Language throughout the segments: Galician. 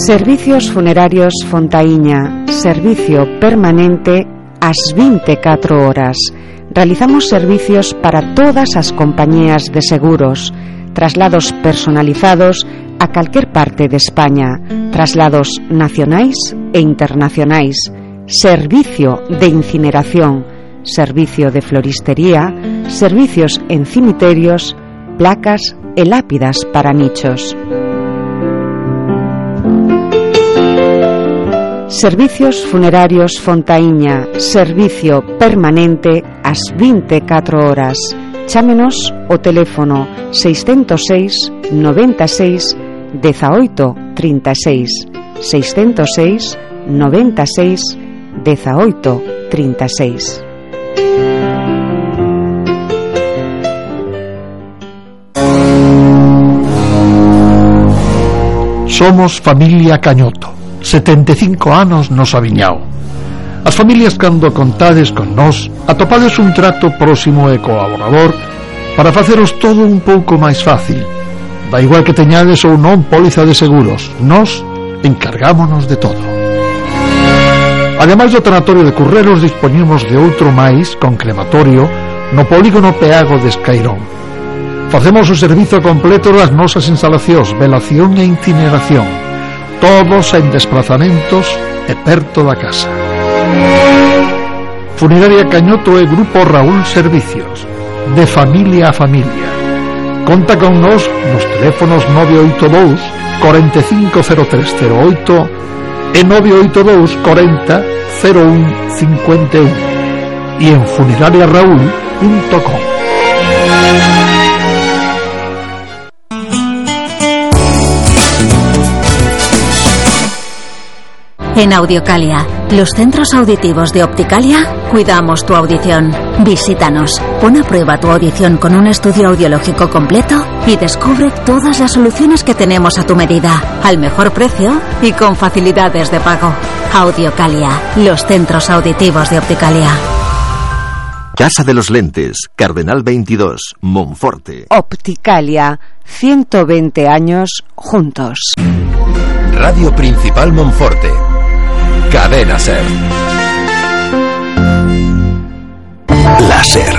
Servicios Funerarios Fontaíña, servicio permanente ás 24 horas. Realizamos servicios para todas as compañías de seguros, traslados personalizados a calquer parte de España, traslados nacionais e internacionais, servicio de incineración, servicio de floristería, servicios en cimiterios, placas e lápidas para nichos. Servicios Funerarios Fontaíña, servicio permanente ás 24 horas. Chámenos o teléfono 606 96 18 36, 606 96 18 36. Somos familia Cañoto, 75 anos nos aviñao. As familias, cando contades con nós, atopades un trato próximo e colaborador para faceros todo un pouco máis fácil. Da igual que teñades ou non póliza de seguros, nós encargámonos de todo. Ademais do tanatorio de Currelos, dispoñemos de outro máis con crematorio no polígono Peago de Escairón. Facemos o servizo completo das nosas instalacións, velación e incineración, todos en desplazamentos e perto da casa. Funeraria Cañoto e Grupo Raúl Servicios, de familia a familia. Conta con nós nos teléfonos 982 450308 e 982 40 01 51 e en funerariaraúl.com. En Audiocalia, los centros auditivos de Opticalia, cuidamos tu audición. Visítanos, pon a prueba tu audición con un estudio audiológico completo y descubre todas las soluciones que tenemos a tu medida, al mejor precio y con facilidades de pago. Audiocalia, los centros auditivos de Opticalia. Casa de los Lentes, Cardenal 22, Monforte. Opticalia, 120 años juntos. Radio Principal Monforte. Cadena Ser. La Ser,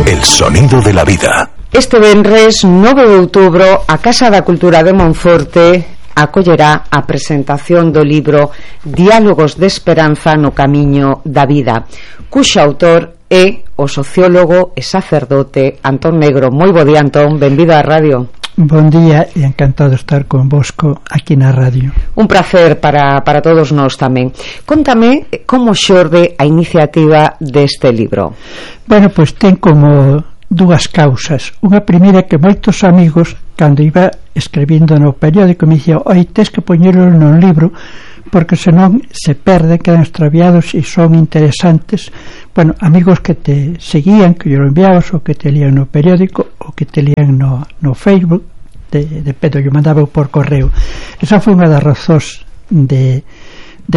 el sonido de la vida. Este venres 9 de outubro a Casa da Cultura de Monforte acollerá a presentación do libro Diálogos de Esperanza no Camiño da Vida, cuxo autor é o sociólogo e sacerdote Antón Negro. Moi bo día, Antón, benvido á radio. Bon día e encantado de estar convosco aquí na radio. Un placer para todos nós tamén. Contame como xorde a iniciativa deste libro. Bueno, pois ten como dúas causas. Unha primeira que moitos amigos, cando iba escribindo no periódico, me dicían: oi, tes que poñelo no libro porque senón se perde, quedan extraviados e son interesantes. Bueno, amigos que te seguían, que yo lo enviabas, ou que te lían no periódico, ou que te lían no Facebook, de pedo, yo mandaba por correo. Esa foi unha das razóns de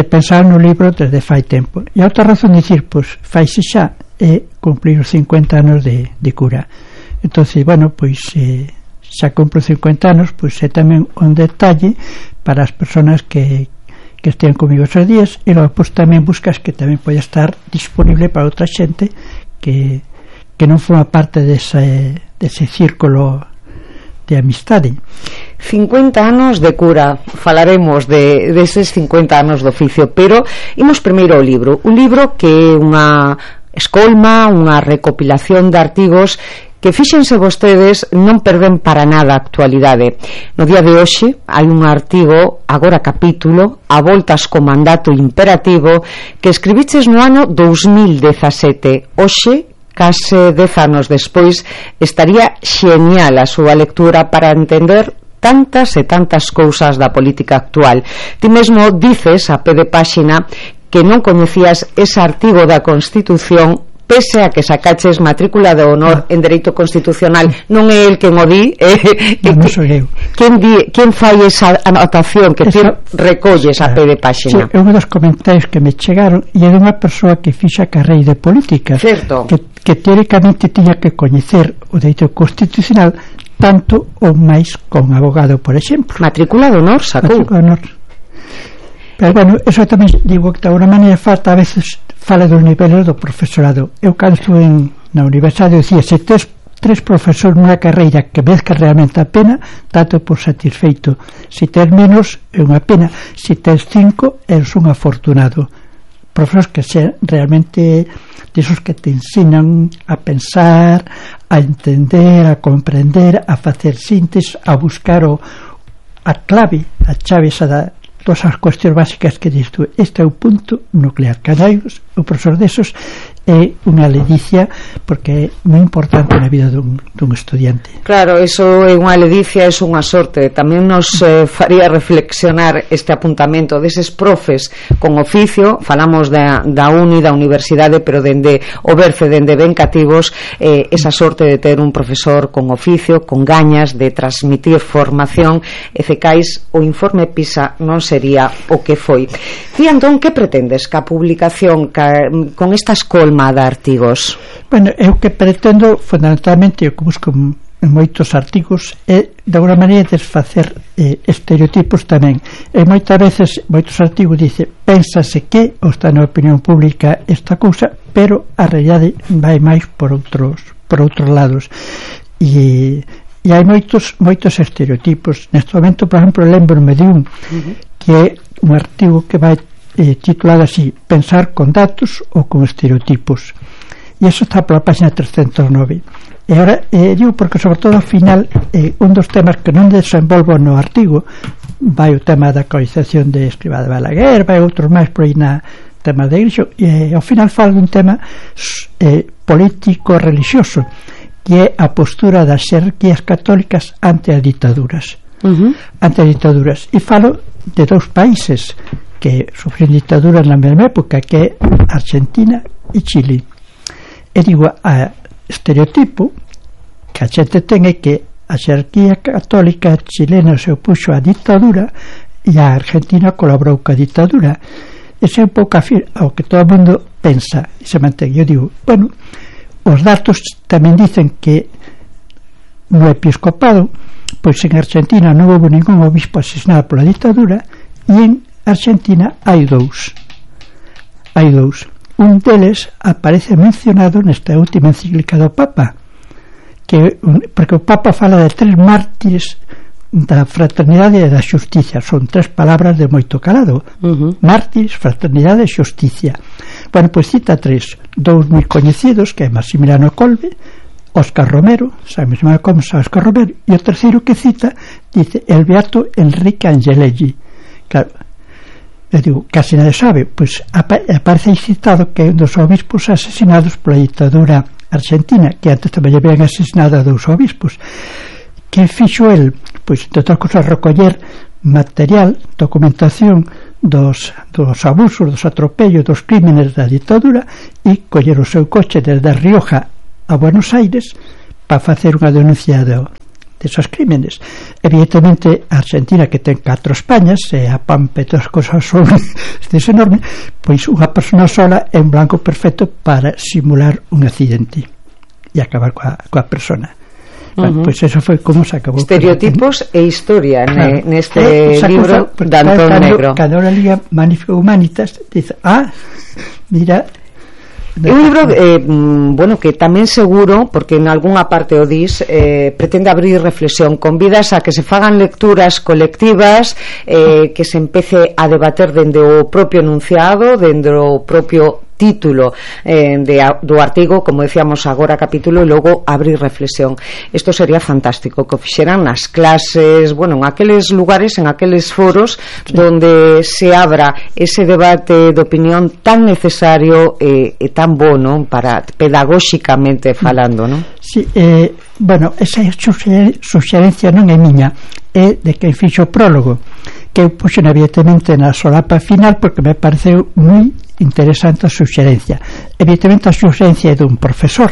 pensar no libro desde fai tempo. E a outra razón de dicir, pois, faise xa é cumplir os 50 anos de cura. Entonces, bueno, pois xa cumpro 50 anos, pois é tamén un detalle para as persoas que estean comigo esos días, e logo pois tamén buscas que tamén pode estar disponible para outra xente que non forma parte dese círculo de amistade. 50 anos de cura, falaremos deses 50 anos de oficio, pero imos primeiro ao libro. Un libro que é unha escolma, unha recopilación de artigos que, fíxense vostedes, non perden para nada a actualidade. No día de hoxe hai un artigo, agora capítulo, a voltas co mandato imperativo, que escribiches no ano 2017. Hoxe, case 10 anos despois, estaría xenial a súa lectura para entender tantas e tantas cousas da política actual. Ti mesmo dices a pé de páxina que non coñecías ese artigo da Constitución, pese a que sacaches matrícula de honor en Dereito Constitucional. Non é el quen o di, non sou eu. Quen fai esa anotación que ti recolles a pé de páxina? Sí, é un dos comentarios que me chegaron, e é dunha persoa que fixa carreira de política, certo, que teóricamente tiña que coñecer o Dereito Constitucional tanto ou máis con abogado, por exemplo. Matrícula de honor sacou. Matrícula de honor. Pero bueno, eso tamén digo que de alguna maneira falta, a veces fala dos niveles do profesorado. Eu cando estuve na universidade dicía, se tes 3 profesores nunha carreira que vezca realmente a pena, tanto por satisfeito. Se tes menos, é unha pena. Se tes 5, eres un afortunado. Profesores que sean realmente desos que te ensinan a pensar, a entender, a comprender, a facer síntesis, a buscar a clave, a chave esa da todas as cuestións básicas que dis tú. Este é o punto nuclear. Canaios, o profesor desos é unha ledicia, porque é moi importante na vida dun estudiante. Claro, eso é unha ledicia, é unha sorte. Tamén nos faría reflexionar este apuntamento deses profes con oficio. Falamos da uni, da universidade, pero dende o berce, dende ben cativos, esa sorte de ter un profesor con oficio, con gañas de transmitir formación. Efecais, o informe PISA non sería o que foi. E entón, que pretendes ca publicación con esta escolma de artigos? Bueno, eu que pretendo fundamentalmente, o que busco en moitos artigos, é de alguna maneira desfacer estereotipos tamén. E moitas veces moitos artigos dice, pénsase que ou está na opinión pública esta cousa, pero a realidade vai máis por outros lados. E hai moitos estereotipos. Neste momento, por exemplo, lembro-me de un que é un artigo que vai titulado así, pensar con datos ou con estereotipos, e eso está pola página 309. E agora digo porque sobre todo ao final un dos temas que non desenvolvo no artigo, vai o tema da coalización de Escrivá de Balaguer, vai outros máis por aí na tema da igrexa, e ao final falo dun tema político religioso, que é a postura das xerarquías católicas ante as ditaduras. E falo de 2 países que sufren dictaduras na mesma época, que é Argentina e Chile. E digo, a estereotipo que a xente ten é que a xerarquía católica chilena se opuxo á dictadura e a Argentina colaborou ca dictadura. Ese é un pouco ao que todo o mundo pensa e se mantén. Eu digo, bueno, os datos tamén dicen que no episcopado, pois en Argentina non houve ningún obispo asesinado pola dictadura, e en Argentina hai dous. Un deles aparece mencionado nesta última encíclica do Papa, porque o Papa fala de 3 mártires da fraternidade e da xusticia. Son 3 palabras de moito calado. Mártires, fraternidade e xusticia. Bueno, pois cita 3. 2 moi coñecidos, que é Maximiliano Kolbe, Óscar Romero, San Maximiliano Kolbe, Óscar Romero, e o terceiro que cita dice el beato Enrique Angelelli. Claro, eu digo, casi nadie sabe, pois aparece citado que é un dos obispos asesinados pola dictadura argentina, que antes tamén habían asesinado a 2 obispos. Que fixo el? Pois, entre outras cosas, recoller material, documentación dos abusos, dos atropellos, dos crímenes da dictadura, e coller o seu coche desde a Rioja a Buenos Aires para facer unha denuncia desos crímenes. Evidentemente a Argentina, que ten 4 Españas, e a Pampa e todas as cosas son enorme, pois unha persona sola é un blanco perfecto para simular un accidente e acabar coa persona. Bueno, pois eso foi como se acabou. Estereotipos e historia, claro, neste libro de Antón Negro. Cando la Liga Magnífica Humanitas dice, mira, é un libro bueno, que tamén seguro, porque en algunha parte o dis, pretende abrir reflexión, convidas a que se fagan lecturas colectivas, que se empece a debater dende o propio enunciado, dende o propio título do artigo, como decíamos agora capítulo, e logo abrir reflexión. Isto sería fantástico, que o fixeran nas clases, bueno, en aqueles lugares, en aqueles foros, sí, donde se abra ese debate de opinión tan necesario e tan bono para pedagóxicamente falando, non? Sí, bueno, esa suxerencia non é miña, é de quen fixo o prólogo, que eu puxen evidentemente na solapa final porque me pareceu moi interesante a suxerencia. Evidentemente a suxerencia é dun profesor.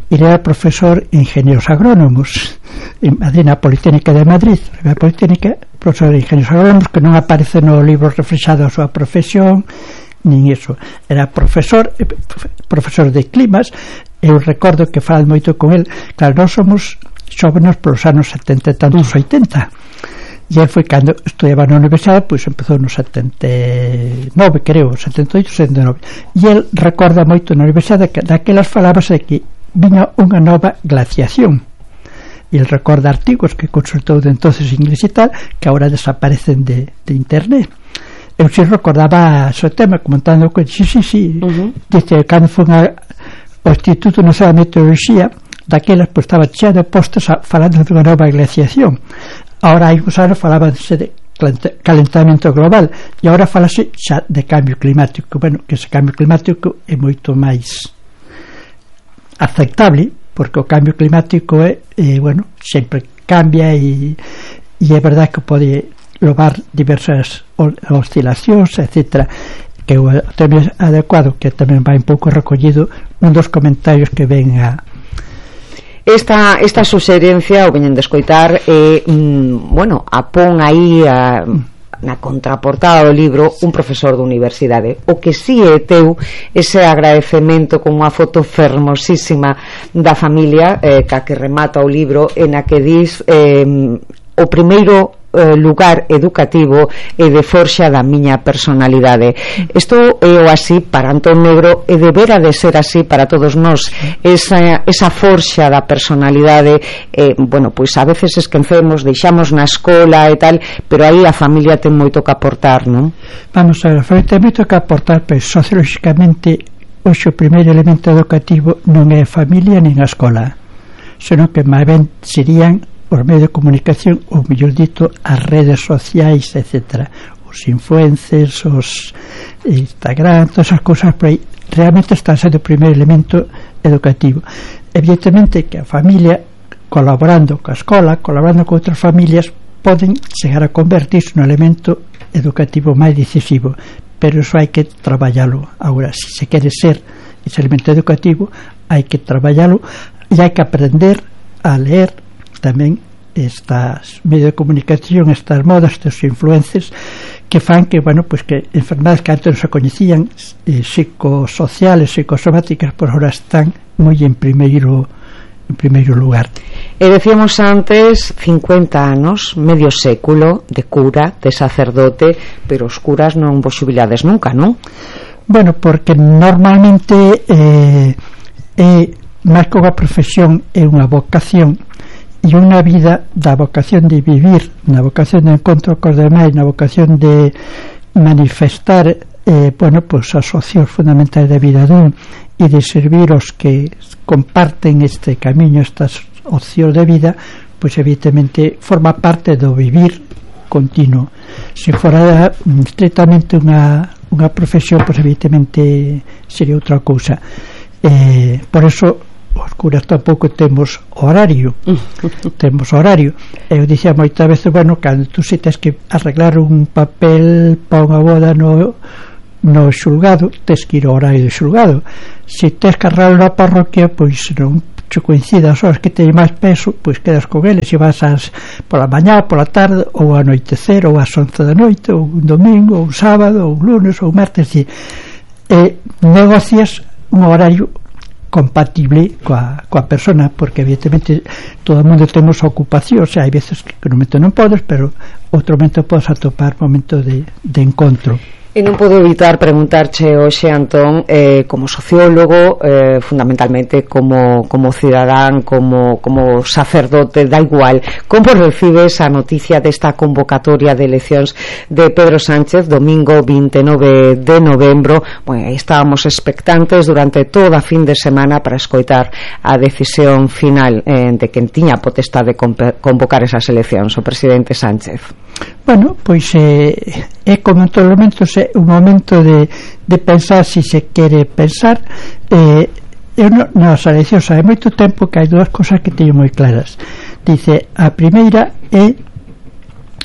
Ele era profesor en ingenieros agrónomos en Madrid, na Politécnica de Madrid, na Politécnica, profesor de ingenieros agrónomos, que non aparece no libro reflexado a súa profesión nin iso. Era profesor de climas. Eu recordo que falan moito con el. Claro, nós somos xóvenes polos anos 70 e tantos, 80, e foi cando estudiaba na universidade, pois empezou no 79, creo, 78, 79, e el recorda moito na universidade que daquelas falábase de que viña unha nova glaciación, e el recorda artigos que consultou de entonces inglés e tal, que agora desaparecen de internet. Eu si recordaba ese tema comentando que sí, dice, cando foi ao Instituto Nacional de Meteoroloxía, daquelas pois estaba chea de postos falando de unha nova glaciación. Ahora hai uns anos falábanse de calentamento global e agora falase xa de cambio climático. Bueno, que ese cambio climático é moito máis aceptable, porque o cambio climático bueno, sempre cambia e é verdade que pode levar diversas oscilacións, etc., que é o tema adecuado, que tamén vai un pouco recollido un dos comentarios que ven a esta suxerencia, o veñen de escoitar, bueno, apón aí na contraportada do libro un profesor da universidade. O que si é teu ese agradecemento con unha foto fermosísima da familia ca que remata o libro, en a que dis o primeiro lugar educativo e de forxa da miña personalidade. Isto é o así para Antón Negro e debera de ser así para todos nós, esa forxa da personalidade. Bueno, pois a veces esquecemos, deixamos na escola e tal, pero aí a familia ten moito que aportar, non? Vamos a ver, a familia ten moito que aportar, pero sociológicamente hoxe o primeiro elemento educativo non é a familia nin a escola, senón que máis ben serían os medios de comunicación, ou mellor dito as redes sociais, etc., os influencers, os Instagram, todas esas cousas por aí, realmente están sendo o primeiro elemento educativo. Evidentemente que a familia, colaborando coa escola, colaborando con outras familias, poden chegar a convertirse nun elemento educativo máis decisivo, pero iso hai que traballalo. Agora, se se quere ser ese elemento educativo, hai que traballalo e hai que aprender a leer tamén estas medios de comunicación, estas modas, estes influencers que fan que, bueno, pues que enfermedades que antes non se coñecían, psicosociales, psicosomáticas, por ahora están moi en primeiro lugar. E decíamos antes 50 anos, medio século de cura, de sacerdote, pero os curas non vos xubilades nunca, non? Bueno, porque normalmente máis que unha profesión é unha vocación, e unha vida da vocación de vivir, na vocación de encontro cos demais, na vocación de manifestar bueno, pues as opcións fundamentais da vida dun e de servir os que comparten este camiño, estas opcións de vida, pois evidentemente forma parte do vivir continuo. Se fora estritamente unha profesión, pois evidentemente sería outra cousa. Por eso os curas tampouco temos horario. Eu dicía moitas veces, bueno, cando tú se tens que arreglar un papel para unha boda no xulgado, tens que ir ao horario do xulgado. Se tens que arreglar na parroquia, pois non che coincida as horas que teñen máis peso, pois quedas con eles e vas pola mañá, pola tarde, ou anoitecer, ou ás 11 da noite, ou un domingo, ou un sábado, ou un lunes, ou un martes, e negocias un horario compatible coa persona, porque evidentemente todo o mundo temos ocupación, o sea, hai veces que no momento non podes, pero outro momento podes atopar momento de encontro. E non podo evitar preguntarche hoxe, Antón, como sociólogo, fundamentalmente como cidadán, como sacerdote, da igual, como recibes a noticia desta convocatoria de eleccións de Pedro Sánchez, domingo 29 de novembro? Bueno, estábamos expectantes durante toda a fin de semana para escoitar a decisión final de quen tiña potestade de convocar esas eleccións, o presidente Sánchez. Bueno, pois é como en todos os momentos, é un momento de pensar se se quere pensar. Eu nas eleccións hai moito tempo que hai dúas cosas que teño moi claras. Dice, a primeira é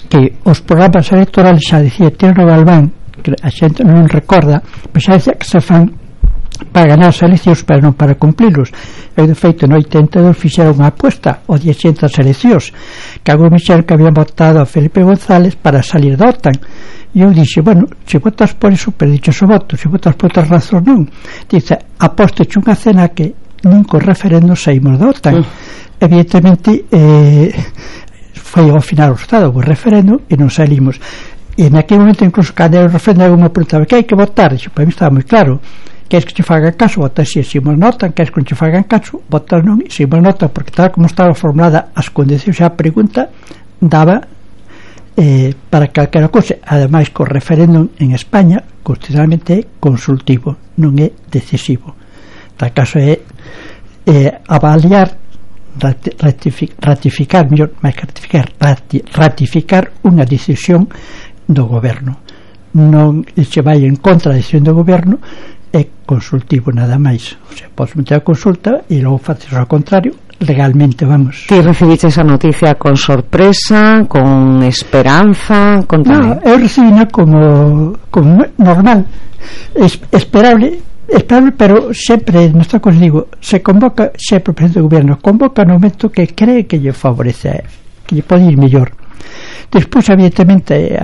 que os programas electorales, xa dicía Tierno Galván, que a xente non recorda, pois xa dicía que se fan para ganar as eleccións, pero non para cumplilos. Eu, de feito, no 82 fixeron unha apuesta ao día xente das eleccións, que algún Michel que habían votado a Felipe González para salir da OTAN. E eu dixe, bueno, se votas por iso, perdiches o voto, se votas por outras razóns non. Dice, aposteche unha cena que nin co referendo saímos da OTAN. Evidentemente foi ao final o resultado do referéndum e non salimos. E naquele momento, incluso, cando o referéndum me preguntaba que hai que votar, dixo, para mí estaba moi claro, queres que te fagan caso, votas si, se nos notan, queres que non te fagan caso, votas non, e se nos notan, porque tal como estaba formulada as condicións a pregunta, daba para calquera cousa. Ademais, co referéndum en España constitucionalmente é consultivo, non é decisivo. Tal caso é avaliar, ratificar unha decisión do goberno. Non se vai en contra da decisión do goberno, é consultivo nada máis. O sea, podes meter a consulta e logo faces ao contrario, legalmente, vamos. Ti recibiste esa noticia con sorpresa, con esperanza? Contame. No, eu recibina como normal, esperable, pero sempre, nesta cosa digo, se convoca, sempre o presidente do goberno convoca no momento que cree que lle favorece, que lle pode ir mellor. Despois, evidentemente,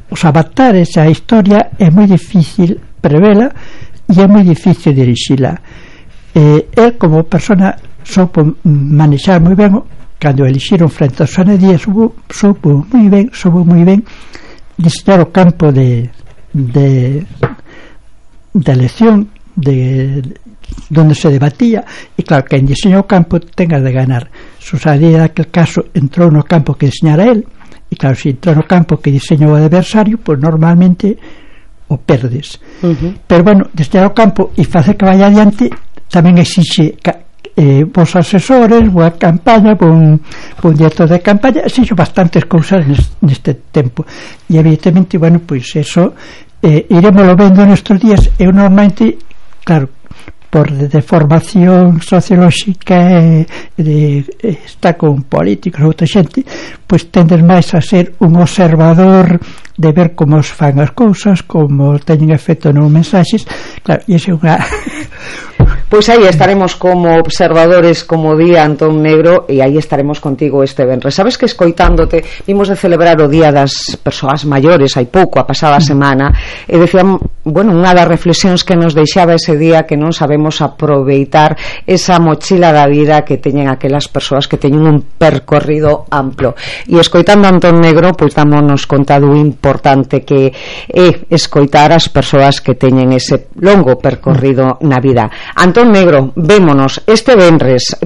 os avatares, a historia é moi difícil prevela e é moi difícil dirixila. El, como persona, soupo manexar moi ben. Cando elixiron frente a Susana Díaz, soupo moi ben diseñar o campo de elección donde se debatía, e claro, que en diseño o campo tenga de ganar. Susana Díaz, naquele caso, entrou no campo que diseñara el, e claro, se entrou no campo que diseñou o adversario, pois normalmente o perdes. Pero bueno, diseñar o campo e facer que vaya adiante tamén exixe vos asesores, boa campaña, bon director de campaña, exixo bastantes cousas neste tempo, e evidentemente, bueno, pois eso iremoslo vendo nestes días. Eu normalmente, claro, por de formación sociolóxica está con políticos ou outra xente, pois tendes máis a ser un observador de ver como os fan as cousas, como teñen efecto nos mensaxes. Claro, e esa é unha Pois aí estaremos como observadores, como día Antón Negro, e aí estaremos contigo este venres. Sabes que escoitándote, vimos de celebrar o Día das Persoas Maiores hai pouco, a pasada semana, e decían, bueno, unha das reflexións que nos deixaba ese día, que non sabemos aproveitar esa mochila da vida que teñen aquelas persoas que teñen un percorrido amplo. E escoitando a Antón Negro, pois dámonos conta do importante que é escoitar as persoas que teñen ese longo percorrido na vida. Antón Negro, vémonos este venres,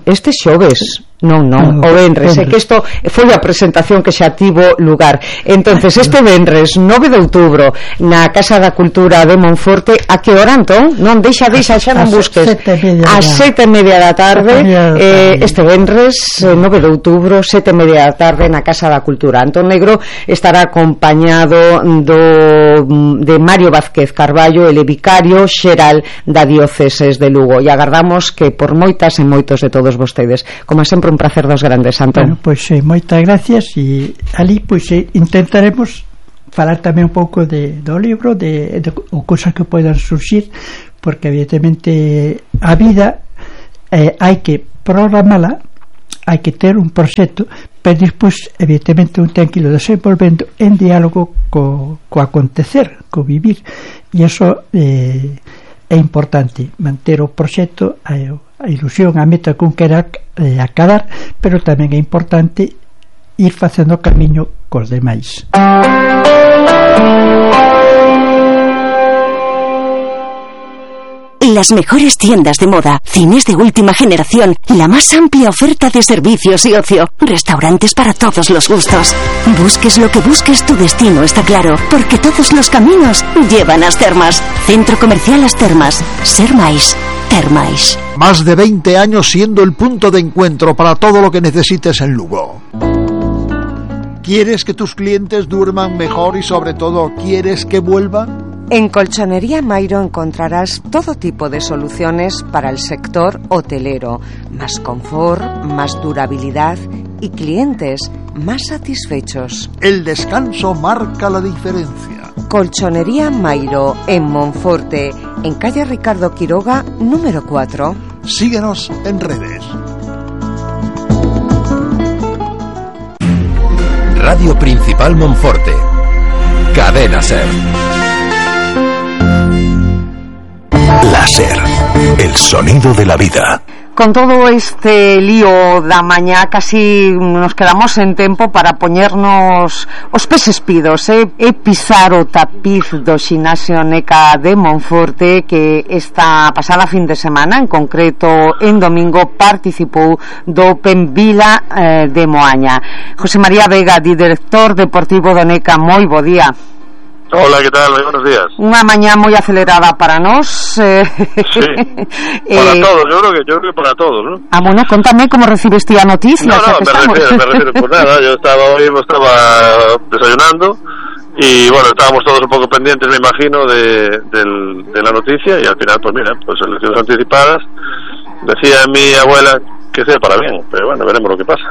este xoves. Non, o venres, é que isto foi a presentación que xa tivo lugar. Entonces, este venres 9 de outubro na Casa da Cultura de Monforte, a que hora, Antón? Non, deixa, xa non busques. A 7:30 da tarde, este venres 9 de outubro, 7:30 da tarde na Casa da Cultura. Antón Negro estará acompañado de Mario Vázquez Carballo, ele vicario xeral da Dióceses de Lugo, e agardamos que por moitas e moitos de todos vostedes, como sempre, un placer dos grandes, Antón. Bueno, pois moitas gracias, e ali pois intentaremos falar tamén un pouco do libro, de cousas que poidan surxir, porque evidentemente a vida hai que programala, hai que ter un proxecto, pero despois evidentemente un ten que ir desenvolvendo en diálogo co acontecer, co vivir, e iso é importante, manter o proxecto, a ilusión, a meta con que era acadar, pero tamén é importante ir facendo o camiño cos demais. Las mejores tiendas de moda, cines de última generación, la más amplia oferta de servicios y ocio, restaurantes para todos los gustos. Busques lo que busques, tu destino está claro, porque todos los caminos llevan a As Termas. Centro Comercial As Termas. Ser máis. Termais. Más de 20 años siendo el punto de encuentro para todo lo que necesites en Lugo. ¿Quieres que tus clientes duerman mejor y sobre todo quieres que vuelvan? En Colchonería Mairo encontrarás todo tipo de soluciones para el sector hotelero, más confort, más durabilidad y clientes más satisfechos. El descanso marca la diferencia. Colchonería Mairo, en Monforte, en calle Ricardo Quiroga, número 4. Síguenos en redes. Radio Principal Monforte. Cadena Ser. Láser, el sonido de la vida. con todo este lío da mañá casi nos quedamos en tempo para poñernos os peses pidos e pisar o tapiz do xinasio Neca de Monforte, que esta pasada fin de semana, en concreto en domingo, participou do Open Vila de Moaña. José María Vega, director deportivo do Neca, moi bo día. Hola, ¿qué tal? Muy buenos días. Unha mañá moi acelerada para nós. Sí, para todos, yo creo que para todos, ¿no? Bueno, contame como recibiste a noticia. No, me refiero, pues nada, yo estaba desayunando y bueno, estábamos todos un poco pendientes, me imagino, de la noticia, y al final, pues mira, pues elecciones anticipadas. Decía mi abuela que sea para bien, pero bueno, veremos lo que pasa.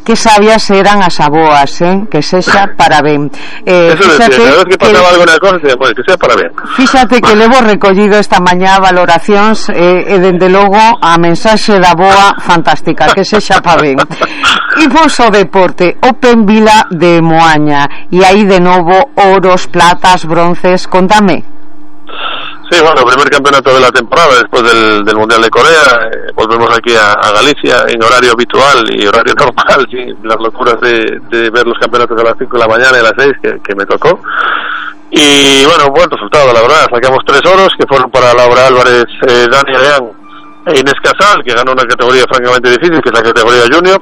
Que sabias eran as aboas, que sexa para ben. Eso decía, cada vez que pasaba alguna cosa, decía, pues, que sea para ben. Fíxate que levo recollido esta mañá valoracións e dende logo a mensaxe da boa fantástica, que sexa para ben. Imos ao deporte, Open Vila de Moaña, e aí de novo oros, platas, bronces, contame. Sí, bueno, primer campeonato de la temporada después del Mundial de Corea. Volvemos aquí a Galicia en horario habitual y horario normal, sin las locuras de ver los campeonatos a las 5 de la mañana y a las 6 que me tocó. Y bueno, buen resultado, la verdad. Sacamos 3 oros que fueron para Laura Álvarez, Dani Leán e Inés Casal, que ganó una categoría francamente difícil, que es la categoría junior.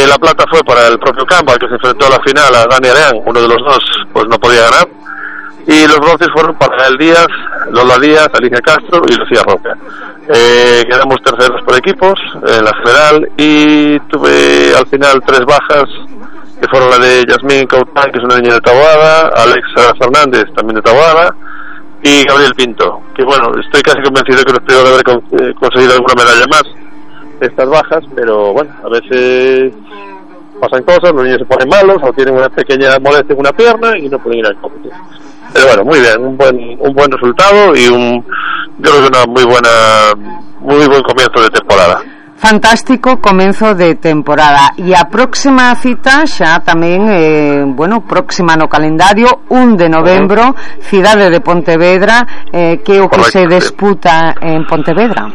La plata fue para el propio Campbell, que se enfrentó a la final a Dani Leán. Uno de los dos pues no podía ganar. Y los bronces fueron para El Díaz, Lola Díaz, Alicia Castro y Lucía Roca. Quedamos terceros por equipos en la general, y tuve al final 3 bajas, que fueron la de Yasmín Caután, que es una niña de Taboada, Alexa Fernández, también de Taboada, y Gabriel Pinto, que bueno, estoy casi convencido que nos puedo haber conseguido alguna medalla más estas bajas, pero bueno, a veces pasan cosas, los niños se ponen malos o tienen una pequeña molestia en una pierna y no pueden ir al competir. Pero bueno, muy bien, un buen resultado y yo creo que una muy buen comienzo de temporada. Fantástico comezo de temporada. E a próxima cita xa tamén próxima no calendario, 1 de novembro, cidade de Pontevedra, que é o que se disputa en Pontevedra.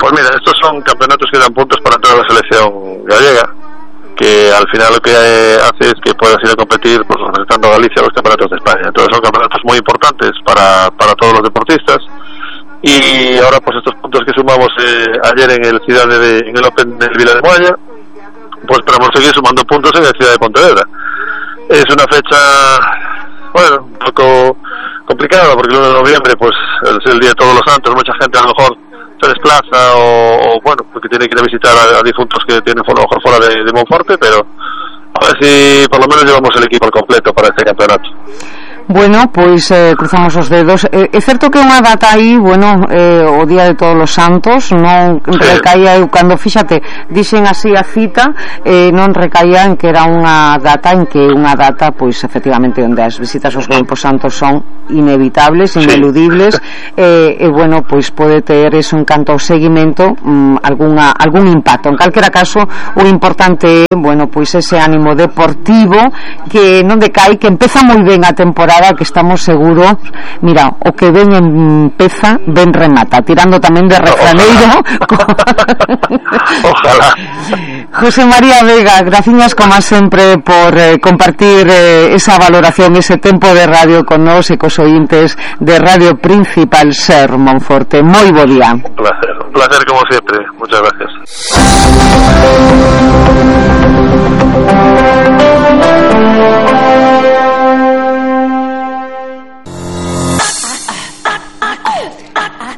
Pues mira, estos son campeonatos que dan puntos para toda la selección gallega, que al final lo que hace es que puedas ir a competir pues representando a Galicia a los campeonatos de España. Entonces son campeonatos muy importantes para todos los deportistas, y ahora pues estos puntos que sumamos ayer en el Open del Vila de Moaña, pues esperamos seguir sumando puntos en la ciudad de Pontevedra. Es una fecha, bueno, un poco complicada, porque el 1 de noviembre pues es el día de Todos los Santos, mucha gente a lo mejor se desplaza o bueno, porque tiene que ir a visitar a difuntos que tienen a lo mejor fuera de Monforte, pero a ver si por lo menos llevamos el equipo al completo para este campeonato. Bueno, pois cruzamos os dedos. É certo que unha data aí, o Día de Todos os Santos non recaía, cando fíxate, dixen así a cita, non recaía en que era unha data pois efectivamente onde as visitas aos Campos Santos son inevitables, ineludibles, e bueno, pois pode ter eso en canto ao seguimento algún impacto. En calquera caso, o importante é, pois ese ánimo deportivo que non decai, que empeza moi ben a temporada, que estamos seguros, mira, o que ven empeza, ven remata, tirando tamén de refraneiro. Ojalá. José María Vega, graciñas como sempre por compartir esa valoración, ese tempo de radio con nós e cos ointes de Radio Principal Ser Monforte. Moi bo día. Un placer como siempre. Muchas gracias.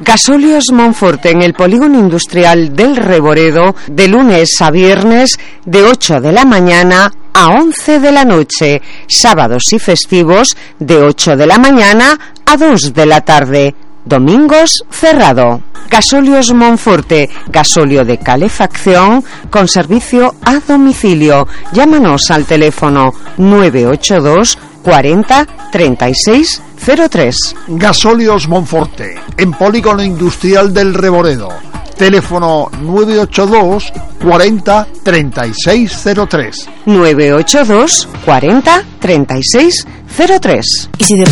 Gasóleos Monforte, en el polígono industrial del Reboredo, de lunes a viernes de 8 de la mañana a 11 de la noche, sábados y festivos de 8 de la mañana a 2 de la tarde, domingos cerrado. Gasóleos Monforte, gasóleo de calefacción con servicio a domicilio. Llámanos al teléfono 982 40 36 03. Gasóleos Monforte, en polígono industrial del Reboredo. Teléfono 982 40 36 03. 982 40 36 03. ¿Y si de